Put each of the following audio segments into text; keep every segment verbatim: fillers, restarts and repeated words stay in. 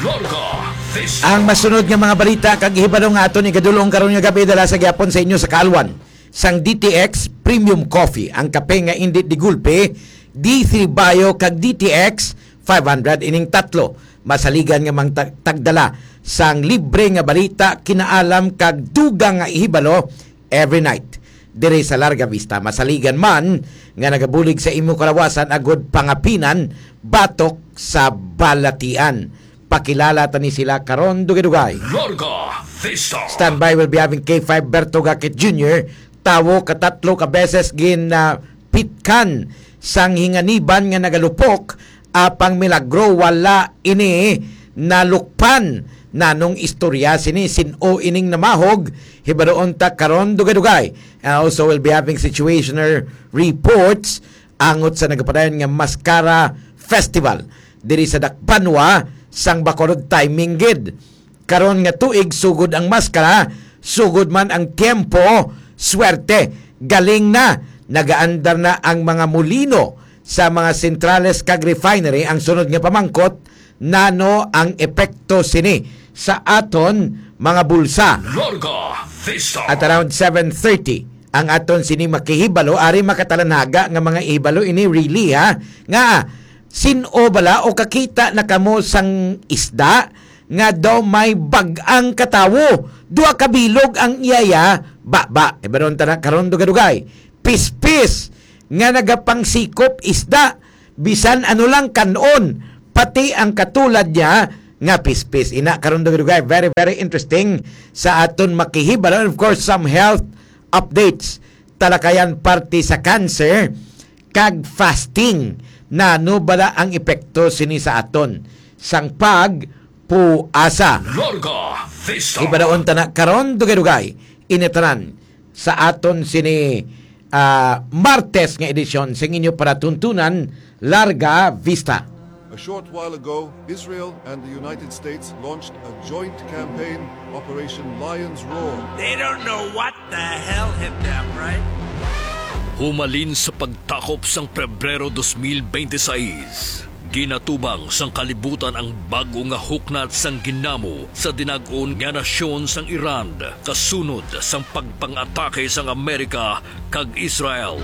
Larga Vista. Ang masunod nga mga balita kag hibalo nga aton igadul-ong karon nga gab-i dala sa gihapon sa inyo sa kaalwan sang D T X Premium Coffee, ang kape nga indi digulpe, D three Bio kag D T X five hundred. Ining tatlo masaligan nga mang tag-, tagdala sang libre nga balita, kinaalam kag dugang nga ihibalo every night diri sa Larga Vista. Masaligan man nga nagabulig sa imo kalawasan agud pangapinan batok sa balatian. Pakilala ta ni sila karon dugay-dugay. Larga Vista. Standby, will be having K five Berto Gakit Junior, tawo katatlo ka beses gin, ah, pitkan sang hinganiban nga nagalupok, apang milagro wala ini nalukpan. Nanong istorya sini, sin-o ining namahog, hibaluon ta karon dugay-dugay. And also, we'll be having situational reports angot sa nagapadayon nga Mascara Festival diri sa Dakbanwa sang Bacolod. Timing gid. Karon nga tuig, sugod ang maskara, sugod man ang tiyempo, swerte. Galing na, nagaandar na ang mga molino sa mga sentrales kag refinery. Ang sunod nga pamangkot, nano ang epekto sini sa aton mga bulsa? Larga Vista. At around seven thirty, ang aton sini makahibalo, ari makatalanhaga nga mga ihibalo ini, really, ha? Nga, sin-o bala o kakita na kamo sang isda nga daw may bag-ang katawo? Duha ka bilog ang iyaya, ba, ba, ibaron ta na karon dugay-dugay. Pispis nga nagapangsikop isda, bisan ano lang kan-on, pati ang katulad niya nga pispis. Ina karon dugay-dugay, very, very interesting sa aton makihibalo. And of course, some health updates, talakayan parte sa cancer kag fasting. Nano bala ang epekto sini sa aton sang pagpuasa? Larga Vista. Ibadaon ta na karon dugay-dugay ini tanan sa aton sini, ah, Martes nga edisyon sing inyo palatuntunan, Larga Vista. A short while ago, Israel and the United States launched a joint campaign, Operation Lion's Roar. They don't know what the hell hit them, right? Humalin sa pagtakop sang Pebrero dos mil bente seis, ginatubang sang kalibutan ang bag-o nga huknat sang ginamo sa dinag-on nga nasyon sang Iran, kasunod sang pagpang-atake sang Amerika kag Israel.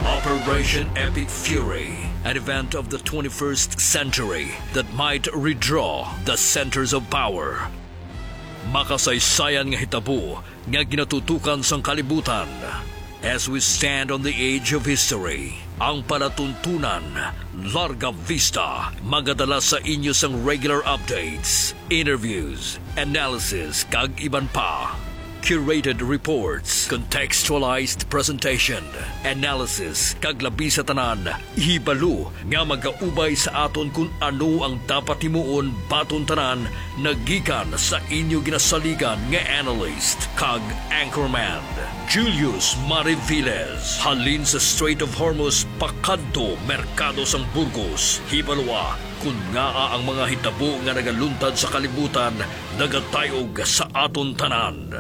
Operation Epic Fury, an event of the twenty-first century that might redraw the centers of power. Makasaysayan nga hitabo nga ginatutukan sang kalibutan. As we stand on the edge of history, ang palatuntunan, Larga Vista, magadala sa inyo sang regular updates, interviews, analysis, kag iban pa. Curated reports, contextualized presentation, analysis, kag labi sa tanan, hibalo nga magaubay sa aton kon ano ang dapat himuon baton tanan, nagikan sa inyo ginasaligan nga analyst kag anchorman, Julius Mariviles, halin sa Strait of Hormuz pakadto merkado sang Burgos. Hibaloa kon ngaa ang mga hitabo nga nagaluntad sa kalibutan nagatayog sa aton tanan.